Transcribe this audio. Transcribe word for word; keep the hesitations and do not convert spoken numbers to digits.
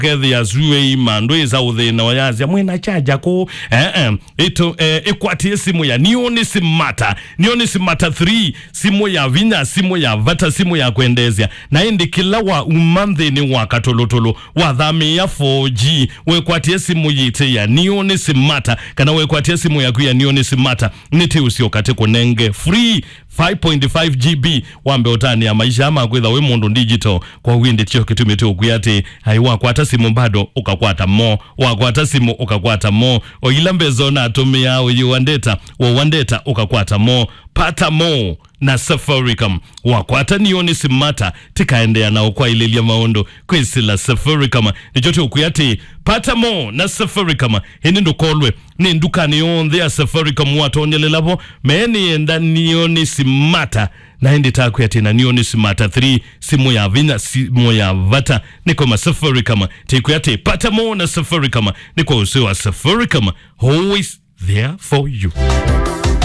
kethĩa suei mandũ ĩsa ũthĩna ũyasya mwĩna chaja kũũ. Eh, eh. Ĩto, eh, ĩkwatie simũ ya Neon Smarter. Neon Smarter three, simũ ya vinya, simũ ya vata, simũ ya kwendeesya. Na ĩndĩ kĩla wa uma nthĩnĩ wa katũlũtũlũ, wathamĩĩa four G, wekwatie simũ yĩte ya Neon Smarter, kana wekwatie simũ yaku ya Neon Smarter, nĩtĩũsyoka tĩkũnenge free five point five G B, wambe ũtanĩa maisha ma kwĩtha wĩ mũndũ digital. Kwa wĩndĩ kyo kĩtumi tũkwĩa atĩ, ai, wakwata simũ bado, ũkakwata mo, wakwata simũ, ũkakwata mo, o ila mbesa ũnatũmĩaa ũyĩwa ndeta, wowa ndeta, ũkakwata mo. Pata mo na Safaricom. Wakwata Neon Smarter, tikaendeea na ũkwaĩlĩlya maũndũ kwĩsĩla Safaricom. Nĩkyo tũkwĩa atĩ, pata mo na Safaricom, ĩndĩ ndũkolwe nĩ ndukanĩ yonthe ya Safaricom watonyelela vo, meenĩenda Neon Smarter. Na ĩndĩ takwĩa atĩ na Neon Smarter three, simũ ya vinya, simũ ya vata, nĩkoma Safaricom. Tĩkwĩa atĩ, pata mo na Safaricom, nĩkwa ũsĩ wa Safaricom, always there for you.